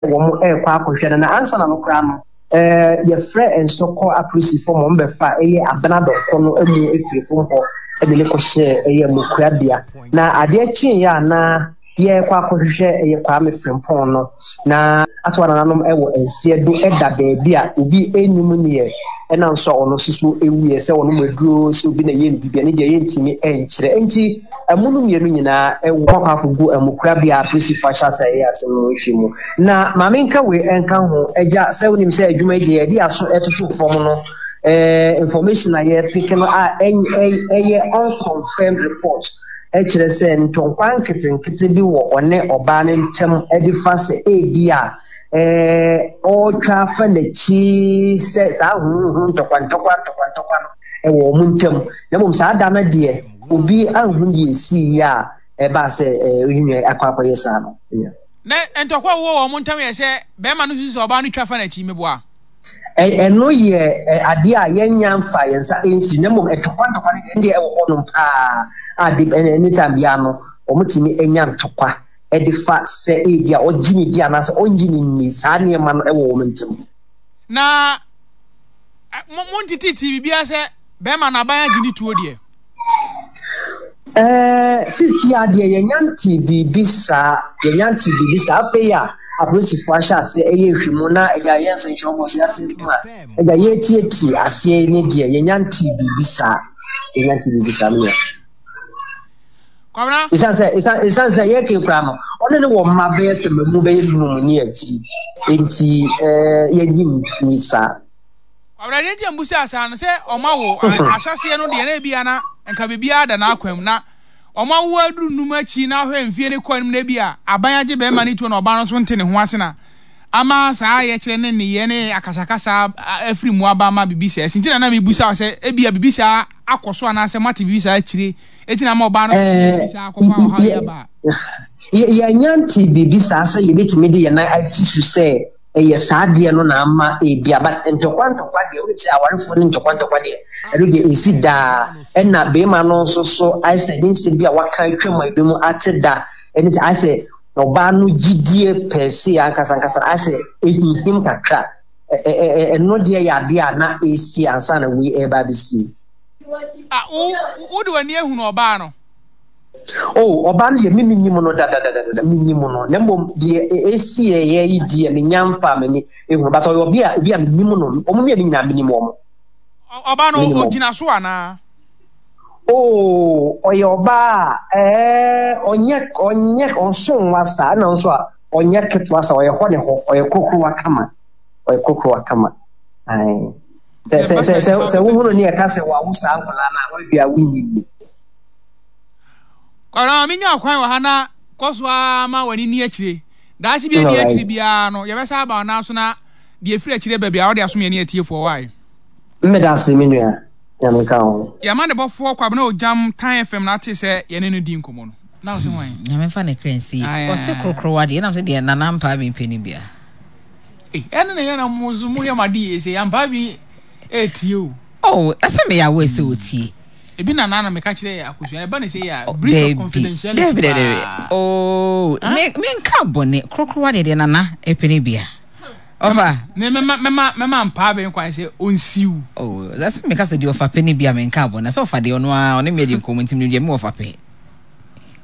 Wɔrekɔ akɔhwɛ no, na ansa na no koraa no, yɛfrɛ nsɔkɔ apolisifo ma wɔbɛfa ɛyɛ Abena Dɔnkɔ no mu firi fam hɔ de no kɔhyɛɛ ɛyɛ Mokuabea. Na adeɛ kyeeɛ a na yɛrekɔ akɔhwehwɛ ɛyɛ Kwame Frimpong no, na ato anananom wɔ nseɛ do da baabi a obi nnim neɛ ɛnam so a ɔno nso so wuiɛ, sɛ ɔnom aduro, sɛ obi na ɛyɛɛ no biribi, ɛno deɛ yɛntumi nkyerɛ. Enti Amu no mmienu nyinaa wɔ hɔ akɔ akɔgu amukorabea a apolisifo ahyɛ ase reyɛ asɛm no nhwɛ mu. Na ma menka wei nka ho, Agya, sɛ wonim sɛ adwuma yi deɛ yɛde aso toto fam no, eh, information a yɛpeke no a ɛyɛ unconfirmed report kyerɛ sɛ ntɔnkwa nketenkete bi wɔ ɔne ɔbaa no ntam de fa sɛ ebi a eh, ɔretwa afa n'akyi sɛ saa huhuhu ntɔkwa ntɔkwa ntɔkwa ntɔkwa no wɔ wɔn ntam. Na mmom saa da no deɛ Obi anhu deɛ ɛsiiɛ a ɛbaa sɛ Ohinya akɔ akɔyɛ saa no. Na ntɔkwa a wɔwɔ wɔn ntam yɛ sɛ barima no susu sɛ ɔbaa no twa fa n'akyi, meboa? Ɛno yɛ adeɛ a yɛnnya mfa yɛn nsa nsi, na mmom ntɔkwa ntɔkwa no deɛ, ɛndeɛ ɛwɔ hɔnom paa a de anytime biara no wɔtumi nya ntɔkwa de fa sɛ ebi a ɔgye ne di anaasɛ ɔngye ne nni, saa nneɛma no wɔ wɔn ntam. Na mo montetete biribiara sɛ bɛrima no aban agye ne tuo deɛ. Ɛɛ sisi a deɛ yɛnya nte biribi saa yɛnya nte biribi saa afei a apolisifoɔ ahyɛ aseɛ ɛyɛ nhwɛmu na ɛgya yɛn nsɛnkyerɛwfoɔ so yɛate nsɛm a ɛgya yɛretietie aseɛ ne deɛ yɛnya nte biribi saa yɛnya nte biribi saa menua. Kwabena. Ɛsiane sɛ ɛsiane sɛ yɛke koraa no ɔne ne wɔ mma bɛyɛ sɛ mmamu bɛyɛ num ne akyiri nti ɛɛ yɛnyi nni saa. Kwabena deɛ nti a mbusaa saa no sɛ ɔma wo ahyɛseɛ no deɛ na ebi ana nka biribiara da n'akwan mu na ɔma wo aduru num akyi na ahwɛ mfie ne kɔ anim na ebi a aban agye bɛrima ne tuo na ɔbaa no nso nte ne ho ase na ama saa yɛkyerɛ ne nneyɛɛ ne akasakasa afiri mu aba ama biribi saa si nti na na mebusa sɛ ebi a biribi saa akɔ so anaasɛ moate biribi saa akyire eti na ama ɔbaa no biribi saa akɔfa ɔhaw yi aba. Yɛanya nte biribi saa sɛ yɛbɛtumi de yɛn nan asi so sɛ ɛyɛ saa adeɛ no na ama ebia but ntɔkwa ntɔkwa deɛ wonim sɛ awarefoɔ ne ntɔkwa ntɔkwa deɛ ɛno deɛ ɛsi daa ɛna bɛrima no nso so ayɛ sɛ ne nsɛm bi a waka atwam a ebi mu ate da ɛne sɛ ayɛ sɛ ɔbaa no gyidie pɛɛse ankasa ankasa ayɛ sɛ ɛhinhim kakra ɛno deɛ yɛ adeɛ a na ɛsi ansa na wei ɛreba abɛsie. Ah, wo wode w'ani ahunu ɔbaa no? Oh, ɔbaa no deɛ me menim no dadadadada, menim no. Na mmom deɛ ɛsiiɛ yi deɛ menya mfaa m'ani ehunu. But ɔyɛ ɔbi a obi a menim no, wɔn mmienu nyinaa menim wɔn. Ɔbaa no ɔgyina so anaa? Oh, ɔyɛ ɔbaa a ɛɛ ɔnyɛ ɔnyɛ ɔnso nwa saa ɛna nso a ɔnyɛ ketewa saa ɔyɛ hɔ ne hɔ ɔyɛ kokrowa kama ɔyɛ kokrowa kama. Ae. Sɛ sɛ sɛ sɛ sɛ wohunu ne ɛka sɛ wawo saa nkwadaa no a wɔawie a wonnyi nni. Kwabena ma menya kwan wɔ ha na kɔ so ara ma w'ani nni akyire. Daakye bi ani akyire biara no, yɛbɛsa aba wo nan so na deɛ ɛfiri akyire ba biara wode asom yɛne atiefoɔ wae. Mmeda ase me nua. Nyame nka wo ho. Yɛn amanebɔfoɔ Kwabena Ogyam, Tan FM na ate sɛ yɛne no di nkɔmmɔ no. Na wo se hwan? Nyame mfa ne kra nsie. Ɔse korokorowa deɛ, ɛnam sɛ deɛ Nana Ampaa bi mpɛ no bia. Ei, ɛne na yɛ na mo nso mo yɛ mo ade yie sɛ Ampaa bi ɛretie o. Oh, ɛsɛ meyɛ aware sɛ ɔtie. Ebi na nana meka kyerɛ yɛ akosua ɛba ne sɛ yɛ a breach of confidentiality paa. Oh, me me nka bɔne korokorowa deɛ deɛ nana ɛpɛ ne bia. Ɔfa. Me mɛma mɛma mɛma mpaa bɛn kwan sɛ ɔnsiw. Oh, sɛ meka sɛ deɛ ɔfa pɛ ne bia me nka bɔne sɛ ɔfa deɛ ɔno ara ɔne me adi nkɔmmɔ nti menim deɛ me wɔfa pɛ.